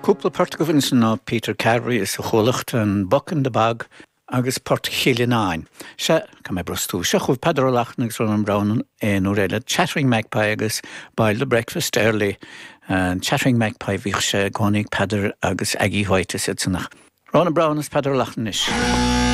Cúpla port agaibh ansin ná Peter Carberry is a chuallacht, an Buck in the Bog agus Port Chill Fhionáin. Sea, caithfidh mé brostú. Seo chugaibh Peadar Ó Lachtnáin agus Rónán Browne aon uair eile, Chattering Magpie agus Boil the Breakfast Early. Chattering Magpie, bhíodh sé i gcónaí ag Peadar agus Aggie White is iad san ach Rónán Browne is Peadar Ó Lachtnáin anois.